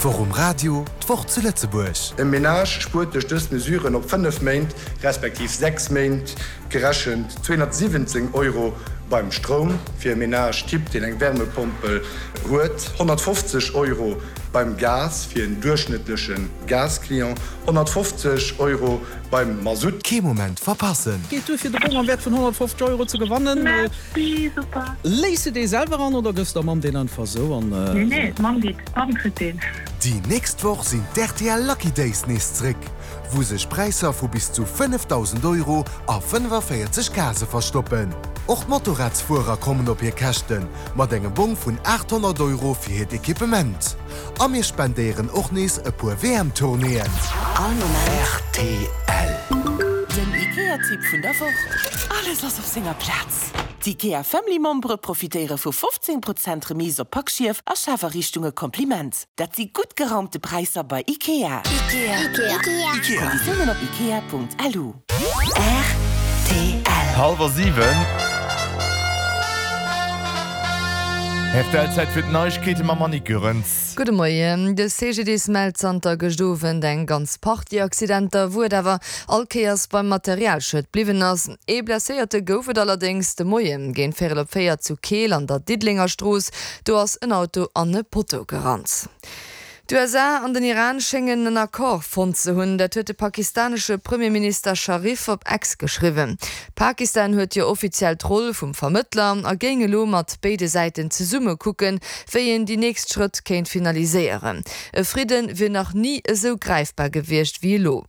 D'Woch um Radio, d'Woch zu Lëtzebuerg. E Menage spuert duerch dës Mesuren op 5 Méint, respektiv 6 Méint gerechent 217 Euro beim Stroum, fir e Menage Type, deen eng Wärmepompel huet, 150 Euro beim Gas, fir en duerchschnëttleche Gasclient, 150 Euro beim Masutt. Kee Moment verpassen! Geet duer fir de Bong am Wäert vun 150 Euro ze gewannen. Merci, super. Léiss de dee selwer an oder gëss der Mamm deen einfach sou an? Nee, nee, d'Mamm geet, d'Mamm kritt deen. Déi nächst Woch sinn d'RTL Lucky Days nees zréck, wou sech Präisser vu bis zu 5.000 Euro a 45 Case verstoppen. Och d'Motorradsfuerer kommen op hir Käschten, mat engem Bong vun 800 Euro fir hiert Equipement. A mir spendéieren och nees e puer WM-Tournéeën. All Moment. Rtl. Den IKEA-Tipp vun der Woch, Alles ass op senger Plaz! D'IKEA Family Membere profitéiere vu 15 Prozent Remise op Packschief a Schafariichtunge Kompliment. Dat si gutt geraumte Präisser bei IKEA. Konditiounen op ikea.lu. Rtl. Hallwer 7. Rtl, Zäit fir d'Neiegkeete mam Annick Goerens. Gudde Moien. De CGDIS mellt zanter gëscht Owend eng ganz Partie Accidenter, wou et awer all Kéiers beim Materialschued bliwwen ass. Ee Blesséierte gouf et allerdéngs de Moie géint véierel op 4 zu Keel an der Diddelenger Strooss. Do ass en Auto an e Potto gerannt. D'USA an den Iran schéngen en Accord fonnt ze hunn. Dat huet de pakistanesche Premierminister Sharif op X geschriwwen. Pakistan huet jo offiziell d'Roll vum Vermëttler a géing elo mat béide Säiten zesumme kucken, wéi een déi nächst Schrëtt kéint finaliséieren. E Fridde wier nach ni esou gräifbar gewiescht wéi elo.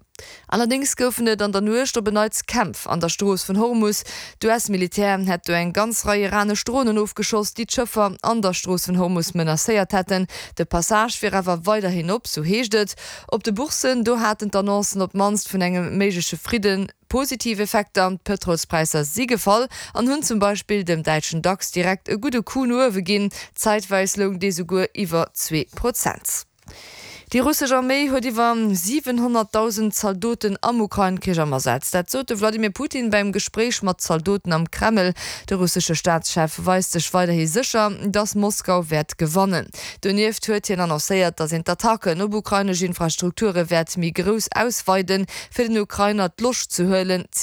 Allerdéngs goufen et an der Nuecht op en Neits Kämpf an der Strooss vun Hormus. D'US-Militär hätt do eng ganz Rei iranesch Dronen ofgeschoss, déi d'Schëffer an der Strooss vun Hormus menacéiert hätten. De Passage wier awer weiderhin op, sou heescht et. Op de Bourssen, do haten d'Annoncen op d'mannst vun engem méigleche Fridde positiv Effekter. D'Pëtrolspräisser si gefall an hunn zum Beispill dem däitschen Dax direkt e gudde Coup no uewe ginn. Zäitweis loung dee souguer iwwer 2%. Déi russesch Arméi huet iwwer 700.000 Zaldoten am Ukrain-Krich am Asaz. Dat sot de Wladimir Putin beim Gespréich mat Zaldoten am Kreml. De russesche Staatschef weist sech weiderhi sécher, datt Moskau wäert gewannen. Donieft huet hien annoncéiert, datt een d'Attacken op ukrainesch Infrastrukture wäert méi grouss ausweiden, fir den Ukrainer d'Loscht ze huelen, zivil.